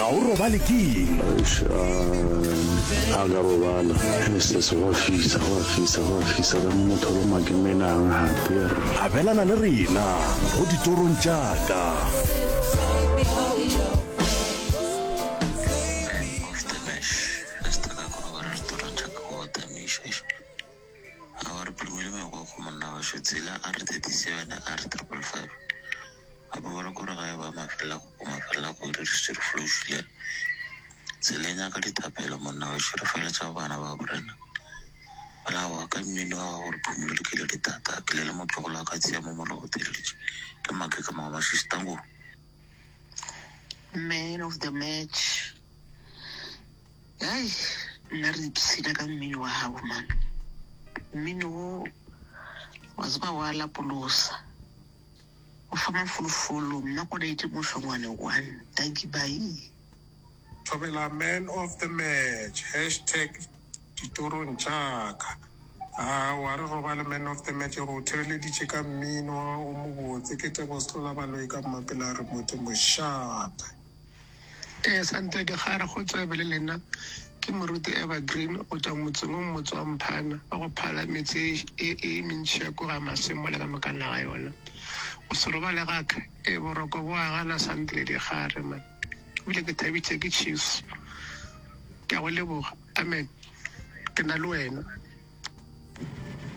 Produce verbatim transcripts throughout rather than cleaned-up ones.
Ga o robale keng? Eish, ah, a ka robala se go a fisa go a fisa go a fisa ka mo motho lo makemenang gape. Abelana le rena go ditorong tša ka. Of the match Mister ka gore ba re ditorong tša ka go tamiša a ba re phumile megokgo monna wa tsela R thirty seven R triple five gape ba re kore ga e ba mafela go mafela go re re flošile tseleng ya ka dithapelo monna wa re feletša bana ba borena balawa ka mmino wa gago re phumile ke le ditata ke le le motlogolo wa ka tšea mo mologo theletše ke make ka mangwe mašistango. Man of the match, ai nna re ipshina ka mmino wa gago man. Mmino wo wa tseba wa lapolosa, o fa mafolofolo. Mna konete mošongwane one. Thank you, bye. Thobela man of the match, hashtag ditorong tšaka. Aowa re robale man of the match, re o thereleditše ka mmino o mobotse. Ke Tebo Setlola Baloi ka Mmapela re mote mošate. Ee, sante ke gare go tsebe le lena ke moruti Evergreen go tswa motseng o motse wa Mphana wa go phala metse e e mentši ya kua ga Masemola ka mokana ga yona. Go se robale ga ka e boroko bo a gana sante le digare man. Ebile ke thabitše ke Chiefs. Ke a go leboga. Amen. Ke na le wena.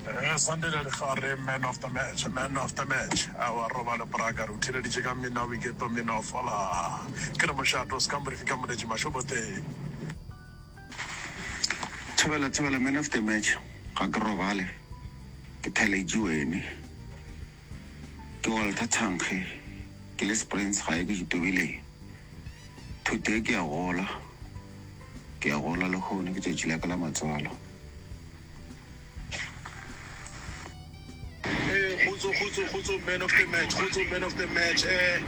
Eh, Sandile Legare, man of the match, man of the match. Awa robale braka, re o theleditše ka mmino wa boiketlo, mmino wa fola. Ke re mošato, se ka morifi ka moletši mašobote. Thobela, thobela, man of the match. Ga ke robale, ke theletše wene. Ke Walter Thankge, ke le Springs gae ke itobileng. Today ke a gola, ke a gola lehono ke tšatši la ka la matswalo. Eh, kgotso kgotso kgotso man of the match, kgotso man of the match. Eh,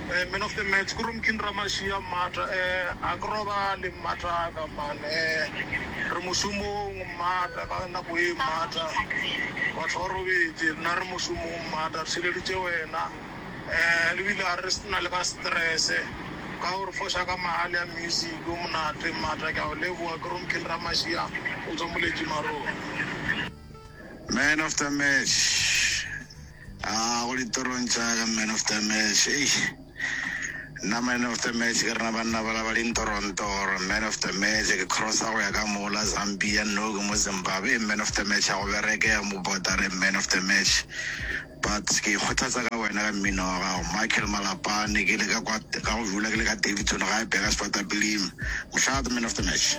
eh, man of the match ke Romkin Ramashia mmata. Eh, a ke robale mmata ka man. Eh, re mošomong mmata ka nako e mmata. Batho ba robetse, nna re mošomong mmata, re theleditše wena. Eh, le bile a re sena le ka stress. Ka gore foša ka mahale ya music o monate mmata, ke a o leboga. Ke Romkin Ramashia o tswa Moletši Marong. Man of the match. Ah, go ditorong tša ka man of the match. Ei. Nna man of the match ke rena banna ba la ba dintorontoro. Man of the match ke crossa go ya ka mola Zambia, no ke mo Zimbabwe. Man of the match ya go bereke ya mo border man of the match. But ke ikgothatsa ka wena ka mmino wa gago. Michael Malapane ke le ka kwa ka go dula ke le ka Davidson gae Burgersfort Bilim. Mošate man of the match.